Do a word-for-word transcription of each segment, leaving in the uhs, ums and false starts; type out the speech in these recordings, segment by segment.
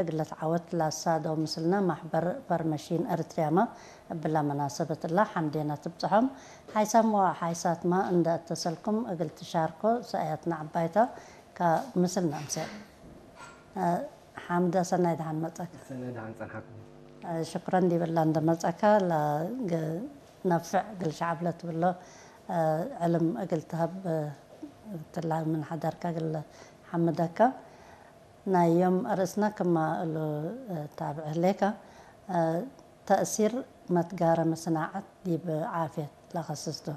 እግል ለትዓወት ለአሳደው ምስልነ ማሕበር ፈርመሺን ኤሪትርያመ እብለ መናሰበት እለ ሐምዴነ ትብጽሖም። ሓይሳም ወሓይሳትመ እንደ እተሰልኩም እግል ትሻርኮ ሰእያትነ ዐባይተ ከምስልነ አምሴ። ሐምደ ሰናይ ደሓን መጸካ። ሰናይ ደሓን ጸንሐኩም። ሽኩረን ዲብላ እንደ መጸካ ለነፍዕ እግል ሸዐብ ለትብሎ ዕልም እግል ትሀብ እትላ ምን ሐደርከ እግል ሐምደከ። ናይ ዮም አርእስነ ክመ እሉ ታብዕ ህሌከ፣ ተእሲር መትጋረመ ስናዐት ዲብ ዓፍየት ለከስስ ቱ።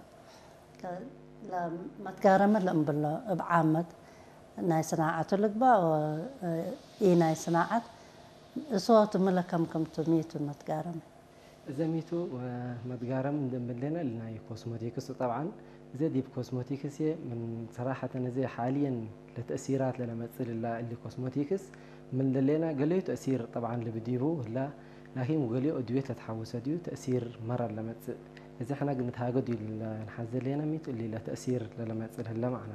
ለመትጋረመ ለእምብሎ እብ ዓመት ናይ ስናዐቱ ልግበእ ወኢ ናይ ስናዐት እሶቱ ምለ ከም ክምቱ ሚቱ መትጋረመ። እዘ ሚቱ መትጋረም እንዴ እምብሌነ እሊ ናይ ኮስሞቲክስ ቱ። ጠብዓን እዘ ዲብ ኮስሞቲክስ ህዬ ምን ሰራሐተን እዘ ሓልየን ለተእሲራት ለለመጽእ ልላ እሊ ኮስሞቲክስ ምን ደሌነ ገሌዩ ተእሲር ጠብዓን ልብዲቡ ህላ፣ ላኪን ወገሌዩ እድዌት ለትሓወሰ ዲዩ ተእሲር መረ ለመጽእ። እዘ ሕነ እግል ንትሃገዱ ለንሓዜ ሌነ ሚቱ እሊ ለተእሲር ለለመጽእ ለህለ መዕና።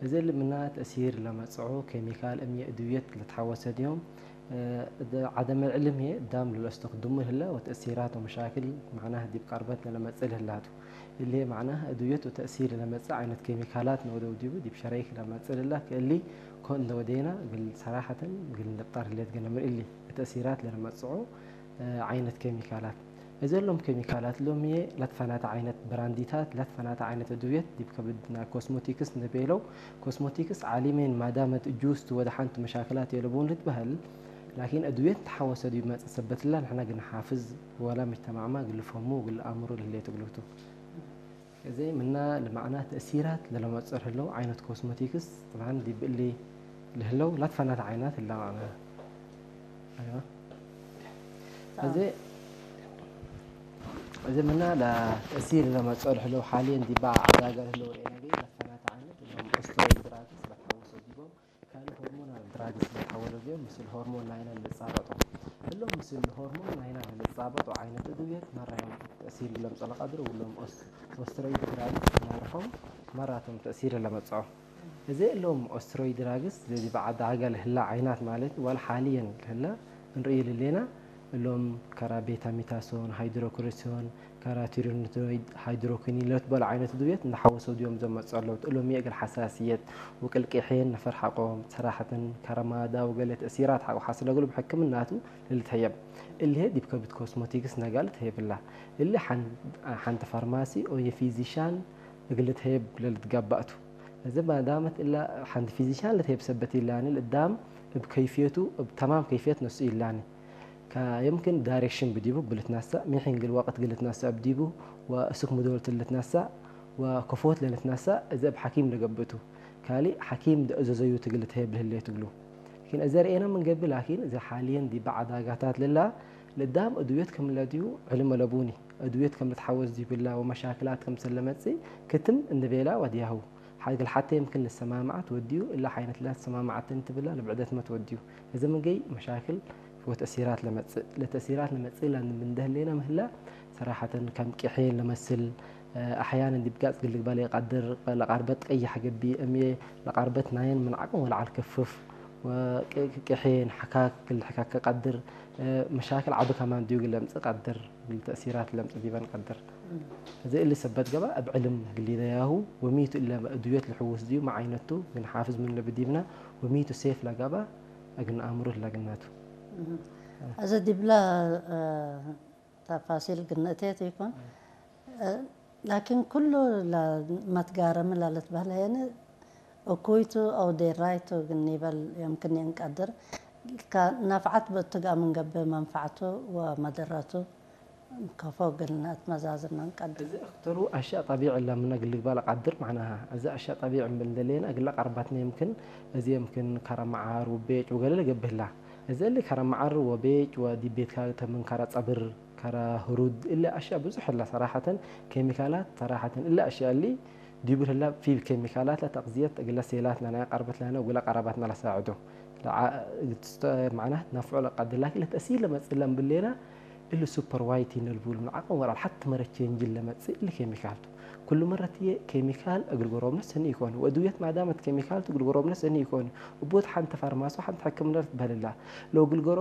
እዘ እሊ ምና ተእሲር ለመጽዖ ኬሚካል እምዬ እድዌት ለትሓወሰ ዲዮም። እደ ዐደመ ዕልም ህዬ እዳም ለለአስተክድሙ ህለ ወተእሲራት ወመሻክል መዕናህ ዲብ ቀርበት ለለመጽእ ለህላ ቱ። እሊ ህዬ መዕናህ እድውየት ወተእሲር ለለመጽእ ዓይነት ኬሚካላት ነወደው ዲቡ ዲብ ሸረይክ ለመጽእ ለህላ ከእሊ ኮን እንደ ወዴና እግል ሰራሐተን እግል ንብጣር ህሌት ገነ ምን እሊ ተእሲራት ለለመጽዖ ዓይነት ኬሚካላት። እዘ እሎም ኬሚካላት እሎም ህዬ ለትፈናተ ዓይነት ብራንዲታት ለትፈናተ ዓይነት እድውየት ዲብ ከብድ ናይ ኮስሞቲክስ እንዴ ቤለው፣ ኮስሞቲክስ ዓሊሜን ማዳመት እጁስ ቱ ወደሓን ቱ መሻክላት የለቡን ልትበህል፣ ላኪን እድውየት ተሓወሰ ዲብ መጽእ ሰበት እላ ንሕነ እግል ንሓፍዝ ወለ ምጅተማዕመ እግል ልፈህሙ ወእግል ለአምሩ ለህሌት እግሉ ቱ። እዜ ምና ለመዕና ተእሲራት ለለመጽኦ ለህለው ዓይነት ኮስሞቲክስ፣ ጠብዓን ዲብ እሊ ለህለው ለትፈናተ ዓይናት እለ መዕና። አይዋ። እዜ፣ እዜ ምና ለተእሲር ለመጽኦ ለህለው ሓልየን ዲባ ዐዳገ ለህለው ርኤነ ገይ ለትፈናተ ዓይነት እሎም ኦስትሮይድ ድራግስ ለትሐወሰ ዲቦም። ካልእ ሆርሞናል ድራግስ ለትሐወለ ዲቦም ምስል ሆርሞን ናይነ ልጻበጦ። እሎም ምስል ሆርሞን ናይነ ልጻበጦ ዓይነት እድውየት መራዮም ተእሲር ለምጽኦ ለቀድር፣ ወእሎም ኦስ-፣ ኦስትሮይድ ድራግስ ናርሖም መራቶም ተእሲር ለመጽኦ። እዜ እሎም ኦስትሮይድ ድራግስ ለዲብ ዐዳገ ለህላ ዓይናት ማለት ወለ ሓልየን ለህላ እንርእዩ ልሌና፣ እሎም ከረ ቤታሚታሶን፣ ሃይድሮኮሪሲዮን፣ ከረ ቲሪኖይድ፣ ሃይድሮኩኒን ለልትበሉ ዓይነት እድውየት እንደ ሐወሰው ዲዮም ዘመጽኦ ዐለው። እሎም እግል ሐሳስየት ወቅልቄሕየን ነፈር ሐቆም፣ ሰራሐተን ከረ ማዳ ወገሌ ተእሲራት ሐቆ ሐስለ እግሉ ብሕክምናቱ ለልትሀየብ። እሊ ህዬ ዲብ ከብድ ኮስሞቲክስ ነጋ ልትሀየብ እላ። እሊ ሐን-፣ ሐንቲ ፋርማሲ ኦየ ፊዚሻን እግል ልትሀየብ ለልትጋባእ ቱ። እዘ ማዳመት እለ ሐንቲ ፊዚሻን ለትሄብ ሰበት ኢላኒ፣ ለእዳም እብ ከይፍየቱ፣ እብ ተማም ከይፍየት ነስኡ ኢላኒ። ከ-፣ የምክን ዳይሬክሽን ብዲቡ እብ ልትነሰእ፣ ሚ ሒን እግል ወቅት እግል ልትነሰእ እብ ዲቡ፣ ወእስክ ሙዶልት ልትነሰእ፣ ወከፎት ለልትነሰእ፣ እዘ እብ ሐኪም ለገብእ ቱ። ካሊ ሐኪም እንዴ አዘዘዩ እግል ልትሄብ ለህሌት እግሉ። ላኪን እዘ ርኤነ ምን ገብእ፣ ላኪን እዘ ሓልየን ዲበ ዐዳጋታት ለላ፣ ለእዳም እድውየት ክምለ ዲቡ ዕልም አለቡኒ። እድውየት ከም ልትሐወስ ዲብላ ወመሻክላት ክምሰል ለመጽእ ክትም እንዴ ቤላ ወድያሁ። እግል ሐቴ የምክን ልሰማምዐት ወድዩ፣ እለ ሐይነት ላ ትሰማምዐትኒ ትብላ ልብዕደትመ ትወድዩ። እዘ ምን ገይ መሻክል ወተእሲራት ለመጽእ። ለተእሲራት ለመጽእ ለምን እንዴ ህሌነ ምህላ፣ ሰራሐተን ከም ቄሕየን ለመስል፣ አሕያነን ዲብ ጋጽ እግል ልግበእ ለኢቀድር፣ ለቃርበት ቀይሕ ገብእ፣ እምዬ ለቃርበት ናየን ምን ዐቅም ወለዐል ክፍፍ፣ ወቄሕየን ሐካክ እግል ልሕከክ ቀድር፣ መሻክል ዐቢ ከማን ዲቡ እግል ለምጽእ ቀድር። እግል ተእሲራት ለምጽእ ዲበን ቀድር። እም። እዜ እሊ ሰበት ገብአ፣ እብ ዕልም እግል ሊደያሁ፣ ወሚቱ እለ እድውየት ልሕውስ ዲቡ፣ መዓይነቱ እግል ንሓፍዝ ምኑ ለብዲብነ፣ ወሚቱ ሴፍ ለገብአ እግል ነአምሩ ለግናቱ። እም። እም። እዜ ዲብለ፣ እ፣ ተፋሲል እግል ንእቴ ቱ ይኮን። እም። እ፣ ላኪን ኩሉ ለመትጋረሚ ለልትበህለ የኒ እኩይ ቱ አው ዴራይ ቱ እግል ኒበል የምክን እንቀድር። ከነፍዐት ብእቱ ገአ ምን ገብእ መንፈዐቱ ወመደረቱ ከፎ እግል ነአትመዛዝን እንቀድር። እዜ አክተሩ አሽያእ ጠቢዕ እለ ምነ እግል ልግበእ ለቀድር መዕናሃ። እዜ አሽያእ ጠቢዕ እምብል ደሌነ እግለ ቀርበትነ የምክን፣ እዜ የምክን ከረ መዓር ወቤጭ ወገሌ ለገብእ ህላ። እዜ እሊ ከረ መዓር ወቤጭ ወዲብ ቤትካ ተ ምን ከረ ጸብር ከረ ህሩድ፣ እሊ አሽያእ ብዙሕ ህላ ሰራሐተን፣ ኬሚካላት ሰራሐተን፣ እሊ አሽያእ እሊ ዲቡ ህላ ፊ ኬሚካላት ለተቅዝየት እግለ ሴላት ለናይ ቀርበት ለነ ወእግለ ቀረባትነ ለሳዕዶ። ለዓ-፣ እግል ትስተ-፣ መዕናህ ነፍዖ ለቀድር፣ ላኪን ለተእሲር ለመጽእ ለእምብል ሌና፣ እሊ ሱፐር ዋይት ኢነ ልቡሉ ምን ዐቅም ወለዐል ሐቲ መረ ቼንጅ ለመጽእ እሊ ኬሚካል ቱ። ክሉ መረት ህዬ ኬሚካል እግል ጎሮብነ ሰኒ ኢኮን፣ ወእድውየት ማዳመት ኬሚካል ቱ እግል ጎሮብነ ሰኒ ኢኮን። እቡ ወድ ሐንተ ፋርማሲ ወሐንተ ሕክምነ ልትበህል እላ። ለእግል